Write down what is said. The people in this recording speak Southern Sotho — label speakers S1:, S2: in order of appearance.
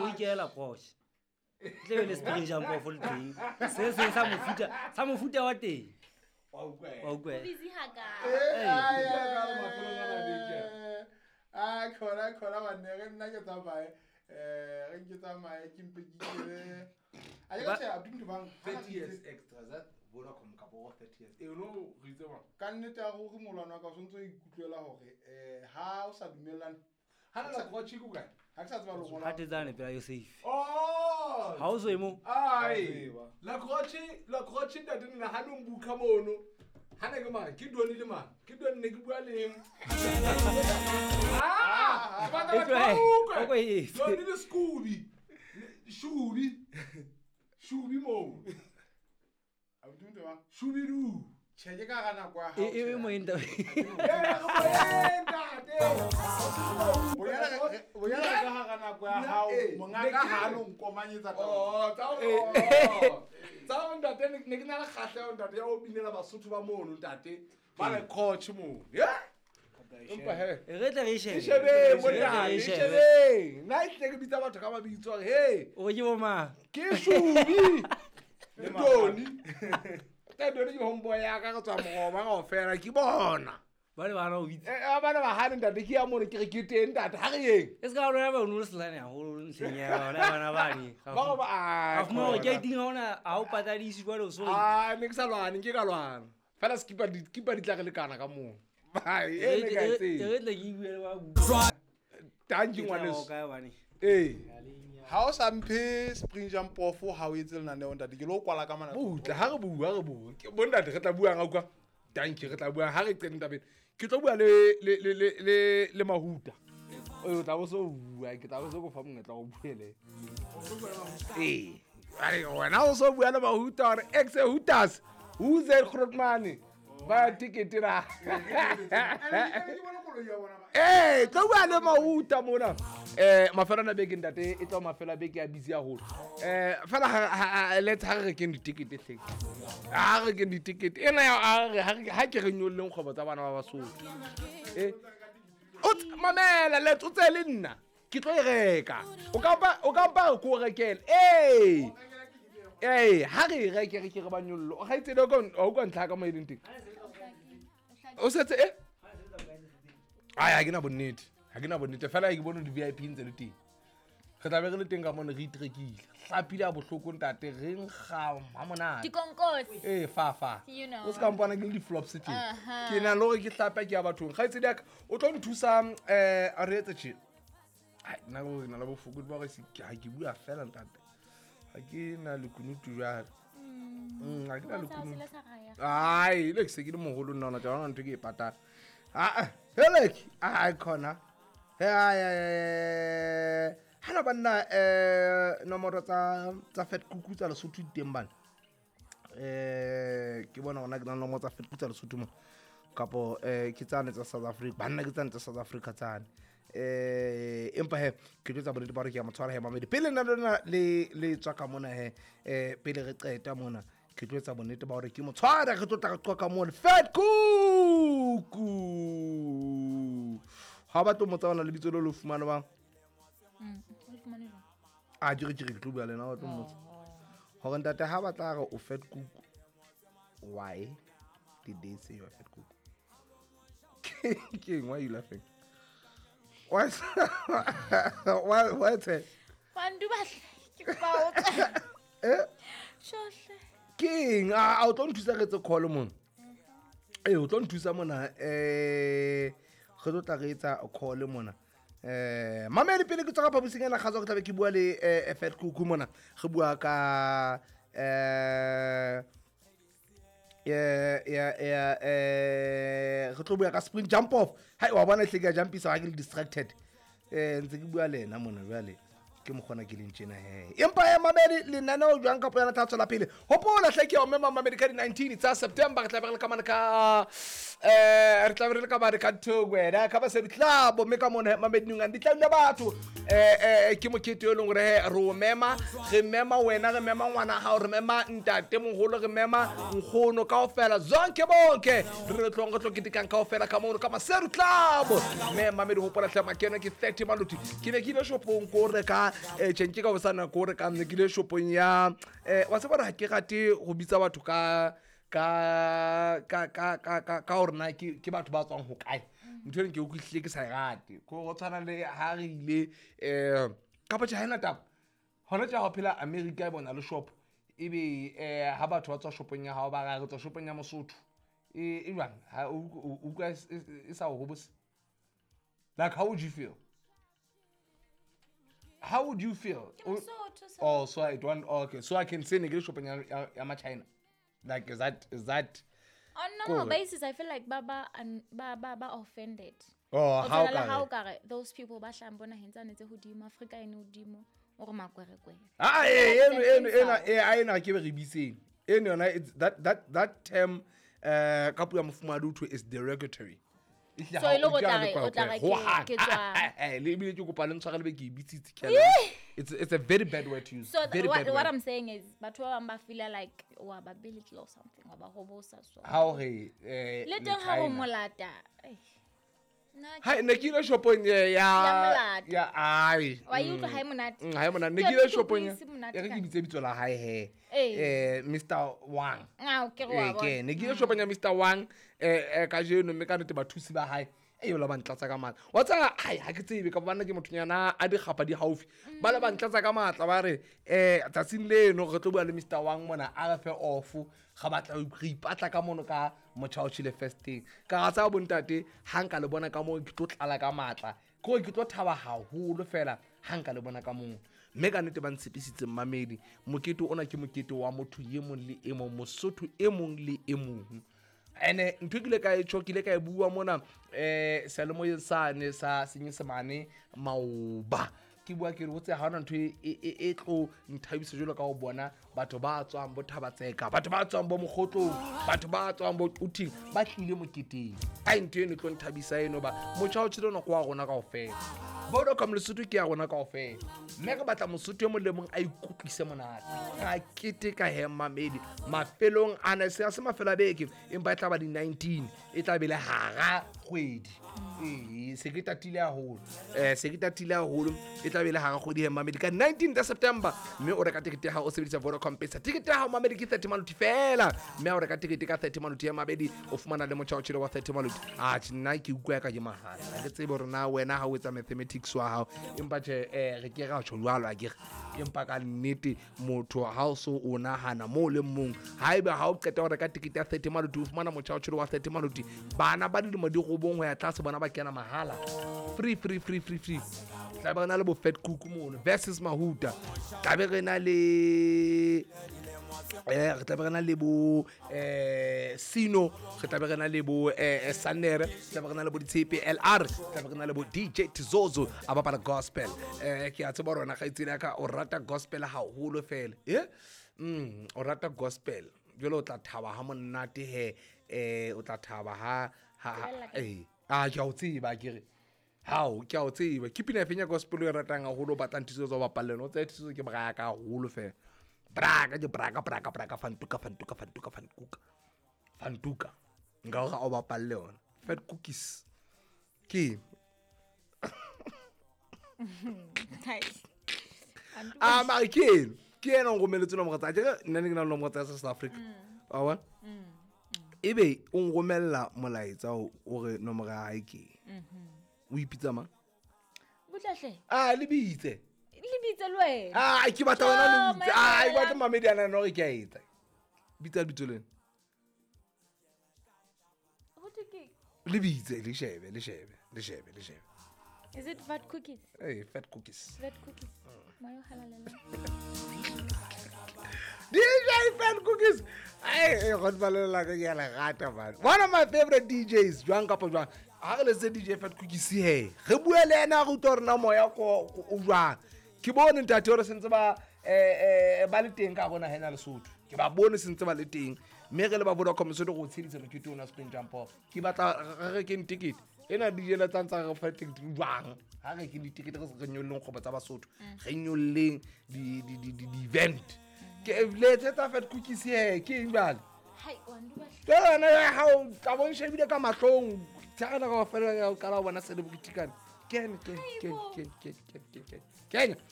S1: O ikela Porsche. Tle be le spring jump off le teng. Se seng sa mofuta, sa mofuta wa teng.
S2: Wa utlwa.
S1: Wa utlwa.
S3: Busy hakae?
S4: Eh,
S2: Eh,
S4: a khona khona banne ge nna ke tsamaye um ge ke tsamaye ke mpe ke ikele a ke ka tjhe, abuti bang
S2: 30 years extra that Vodacom kapo go 30 years. Eh, no re itse bang.
S4: Ka nnete ya gore molwana wa ka o santse o ikutlwela hore um ha o sa dumellane.
S2: Ha na la coach ku kae?
S4: Ha ke sa tseba lengolo.
S1: Hatetsane pela Yosef.
S2: Oh!
S1: Ha o so e mo.
S2: Ai.
S4: Tseba.
S2: La croce, la croce ntate nna ha no mbuka mono. Ha ne ke mang? Ke Doni le mang? Ke Doni ne ke bua le eng? Ah! Ba
S1: E
S2: tla
S1: tlohe,
S2: ba utlwe.
S1: o ko e etse.
S2: Doni le Scooby. Shubi. Shubi mo.
S4: Abuti motho bang
S2: Shubi du.
S4: tjhe ke ka ga nako ya hao,
S1: E e
S4: tjhe.
S1: mo enta.
S2: Eh, ntate.
S4: Bonyane re ka hara nako ya hao,
S2: Eh,
S4: mongaka
S2: ne ke-
S4: ha no nkomanyetsa taba.
S2: Oh, tsa oh. Tsa ho ntate ne ke na le kgahleho ntate ya ho binela Basotho ba mono ntate. Ba le coach mono. Yeah. Empa he.
S1: E re tle re e shebe.
S2: E shebeng
S1: Re tle re
S2: monna,
S1: e
S2: e
S1: shebe.
S2: shebeng. Nna e tle ke bitsa batho ka mabitso hore hey,
S1: O ke bo mang?
S2: ke Shubi le Doni. Ka Doni ke homeboy ya ka re tswa moroba kaofela ke bona.
S1: Ba le bana o bitsa.
S2: Eh, ba ne ba hane ntate ke ya mono ke re ke teng ntate ha re yeng.
S1: E se ka lona ba o no le selane haholo ntlheng ya yona bana bane.
S2: Ba go ba
S1: Ka fumana hore ke ting ha ona ha o patadise jwale o so.
S2: Ah, ne ke sa lwane, nke ka lwana. Fela skipa di skipa di tla re lekana ka moo. Hai, e ne ka
S1: E
S2: e tsebe.
S1: re tle ke bue le ba bua.
S2: Thank you
S1: Ke tla
S2: ngwaneso.
S1: o kae bane.
S2: Ee.
S4: Ha o sa mphe spring jump off ha o etse lenaneo ntate ke lo kwala ka mana.
S2: Butla ha re bua re bua. Ke bontate re tla buang a utlwa. Thank you re tla buang ha re qete tabeng. Ke tlo bua le le le le le le Mahuta. O tla bo so bua, ke tla bo so go fa monyetla o bue le. Ee. Are wena o so bua le Mahuta hore ex Hutas. Who's that Grootman? Ba ticket ra.
S4: Ke bona koloi ya bona ba.
S2: Ee, tlo bua le Mahuta mona. Mafelo a beke ntate e tlo mafelo a beke a busy haholo. Fela let's ha re rekeng ditekete hleng. Ha re rekeng ditekete. Ena ya ha re ha ke re nyolleng kgwebo tsa bana ba Basotho. O mamela let's o tseye le nna. Ke tlo e reka. O ka mpa o ka mpa re ko o rekele. Ee. Ee, ha re e reke re ke re ba nyollo. O kgaitsedi o ka o utlwa ntlha ka mo e leng teng. O setse e? Ai, ha ke na bonnete. Ha ke na bonnete. Fela ke bone di-VIP ntse le teng. Re tla be re le teng ka mona re itrekile. Hlapile ha bohloko ntate, re nkga ha monate.
S3: Dikonkosi.
S2: Ee, fa fa.
S3: You know.
S2: O se ka mpona ke le di-flops tje.
S3: Aha.
S2: Ke na le hore ke hlape ke ya bathong. Kgaitsedi ya ka, o tlo nthusa a re etse tje. Ai, nna ke hore ke na le bofokodi ba hore ha ke bua fela ntate. Ha ke na lekunutu jwale. Ha ke na lekunutu.
S3: Sa raya.
S2: Ai, le ke se ke le moholo nna hona tje, ha hona ntho e ke e patang. Ah, helek, ai khona. He ai ai. Hana banna nomoro tsa tsa Fat Kuku tsa Lesotho di teng bana. Ke bona hona ke na le nomoro tsa Fat Kuku tsa Lesotho mona. Kapo ke tsane tsa South Africa, banna ke tsane tsa South Africa tsane. Empa he ke tlo etsa bonnete ba hore ke a mo tshwara he mamedi. Pele nna le lona le le tswa ka mona he pele re qeta mona ke tlo etsa bonnete ba hore ke mo tshwara re tlo tla re qoqa mona Fat Kuku. Ha ba tlo mo tsabana lebitso leo le fumane bang.
S3: O le fumane jwang?
S2: A ke re ke re ke tlo bua le ena wa tlo mmotsa. Hore ntate ha ba tla re o Fat Kuku. Why did they say you are Fat Kuku? Ke eng, why are you laughing? Why why tse?
S3: Bantu ba hle, ke kopa o tswe.
S2: Eh?
S3: Tjhohle.
S2: Ke eng? A o tlo nthusa re etse call mona. Ee, o tlo nthusa mona re tlo tla re etsa call mona. Mamedi pele ke tswa ka phaposing ena kgatswa ke tlabe ke bua le Fat Kuku mona. Re bua ka re tlo bua ka spring jump off. Hai wa bona hle ke a jumpisa ha ke le distracted. Ntse ke bua le ena mona jwale. Ke mokgona ke leng tjena he. Empa he mamedi lenaneo jwang kapo yona tla tswela pele. Hopola hle ke ya o mema mamedi ka di-19 tsa September re tla be re le ka mane ka re tla be re le ka mane ka Thoko ka Basedi Club mme ka mona he mamedi Nungane di tla dula batho. Ke mokete e leng hore he re o mema, re mema wena, re mema ngwana hao, re mema ntate moholo, re mema nkgono kaofela, zonke bonke. Re tlong re tlo ketekang kaofela ka mono ka Maseru Club. Mme mamedi hopola hle makeno ke 30 maluti. Ke ne ke ile shopong ko reka Tjhe nke ka hosana ko re ka nne ke ile shopong ya wa tseba hore ha ke rate ho bitsa batho ka ka ka ka ka ka ka hore na ke batho ba tswang ho kae. Ntho eno ke utlwisile ke sa e rate. Ko go tshwana le ha re ile kapa tjhe ha ena taba. Hona tje ha o phela America e bona le shop ebe ha batho ba tswa shopong ya hao ba re tswa shopong ya Mosotho. E jwang? Ha o utlwa e sa o hobose? Like, how would you feel? How would you feel? Oh, so I don't. Okay, so I can say ne ke le shopong ya ma China. Like, is that
S3: on normal basis? I feel like baba and ba offended.
S2: Oh, how
S3: ka those people ba hlang bona hentsa netse hodimo Africa ene hodimo o re makwerekwere.
S2: Ah, ena ke be re bitseng. Eno yona it's that term ka puo ya mofumahadi ho thwe is derogatory.
S3: So e le go tla re o tla re ke tswa.
S2: Le ebile ke kopa le ntshware le be ke e bitsitse ke a It's a very bad word to use.
S3: So
S2: very bad
S3: what
S2: word.
S3: I'm saying is batho ba bang ba feel like wa ba belittle or something, wa ba hobosa so.
S2: Ha o re
S3: le teng ha o molata.
S2: Ha ne ke ile shopong ya ai.
S3: Wa e utlwa ha e monate.
S2: Ha e monate. Ne ke ile shopong ya re ke bitse bitso la hae he. Mr Wang.
S3: Ah, okay, wa bona.
S2: Ne ke ile shopong ya Mr Wang kajeno mme ka nnete bathusi ba hae. E la ba ntlatsa ka matla. Wa tseba hai ha ke tsebe ka bana ke mothonyana a dikgapa di haufi. Ba le ba ntlatsa ka matla ba re tsatsing leno re tlo bua le Mr Wang mona a re fe off ga batla re ipatla ka mono ka motjha o tjhele first thing. Ka ga tsa bontate ha nka le bona ka mo ke tlo tlala ka matla. Ke ke tlo thaba haholo fela ha nka le bona ka mo. Mme ka nnete ba ntshepisitse mmamedi mokete ona ke mokete wa motho e mong le e mong, Mosotho e mong le e mong. Ene ntho ke ile ka e tjho ke ile ka e bua mona seyalemoyeng sane sa Senyesemane maoba. Ke bua ke re ho tse ha hona ntho e tlo nthabisa jwalo ka ho bona batho ba tswang bo Thabatseka, batho ba tswang bo Mokgotlong, batho ba tswang bo Quthing ba tlile moketeng. Ai ntho eno e tlo nthabisa eno ba motjha o tjhele ona ke wa rona kaofela. Vodacom Lesotho ke ya rona kaofela. Mme re batla Mosotho e mong le mong a ikutlwise monate. A keteka he mmamedi mafelong ana se se mafelo a beke empa e tla ba di 19 e tla be le hara kgwedi. Se ke tatile haholo. Se ke tatile haholo e tla be le hara kgwedi he mmamedi ka 19 September mme o reka tekete ya hao o sebedisa Vodacom Pesa. Tekete ya hao mmamedi ke 30 maluti fela. Mme o reka tekete ka 30 maluti ya mabedi o fumana le motjha o tjhele wa 30 maluti. Ah nna ke utlwa ka ke mahala. Ha ke tsebe hore na wena ha o etsa mathematics wa hao empa tjhe re ke ra tjho jwalo a ke re empa ka nnete motho ha o so o nahana mo le mong haeba ha o qeta ho reka tekete ya 30 maluti o fumana motjha o tjhele wa 30 maluti. Bana ba dilemo di robong ho ya tlase bona ba kena mahala. Free free free free free. Tla be re na le bo Fat Cook mono versus Mahuta. Tla be re na le re tla be re na le bo Sino, re tla be re na le bo Sanere, re tla be re na le bo Ditshepe LR, re tla be re na le bo DJ Tizozo a bapala gospel. Ke a tseba rona kgaitsedi ya ka o rata gospel haholo fela. O rata gospel. Jwale o tla thaba ha monate he o tla thaba ha ah ke a o tseba ke re. Hao ke a o tseba. Ke pina efeng ya gospel o e ratang haholo o batlang Tizozo o bapalle yona? O tsaya Tizozo ke braka haholo fela. Braka ke braka braka braka fantuka fantuka fantuka fantuka. Fantuka. Nka hore o bapalle yona. Fat Cookies. Ke. Ah mara ke eno. Ke ena o nromeletse nomoro tsa hae. Nna ne ke na le nomoro tsa South Africa. Wa bona? Ebe o nromella molaetsa o re nomoro ya hae ke. O ipitsa mang?
S3: Butlahle.
S2: Ah le bitse.
S3: Le bitse le wena.
S2: Ah ke batla wena le bitse. Ah ke batla mamedi ana no re ke a etsa. Bitsa lebitso lena.
S3: Ho thwe ke?
S2: Le bitse le shebe le shebe le shebe le shebe.
S3: Is it Fat Cookies?
S2: Hey, Fat Cookies.
S3: Fat Cookies. Moya o halalelang.
S2: DJ Fat Cookies. Ai go ke a le rata man. One of my favorite DJs jwang kapa jwang. Ha re letse DJ Fat Cookies he. Re bua le yena re utlwa hore na moya ko o jwang. Ke bone ntate hore sentse ba ba le teng ka rona hena Lesotho. Ke ba bone sentse ba le teng. Mme re le ba Vodacom Lesotho go tshedisa mokete ona Spring Jump Off. Ke batla re rekeng ticket. Ena DJ la tsantsa re fa ticket jwang. Ha re ke ditikete re nyolleng kgobo tsa Basotho. Re nyolleng di event. Ke letsetsa Fat Cookies he ke eng jwale?
S3: Hai wa nduba.
S2: Ke yona ya hao tla bo nshebile ka mahlong. Tsaka ka fela ya o qala ho bona celebrity kana. Kene.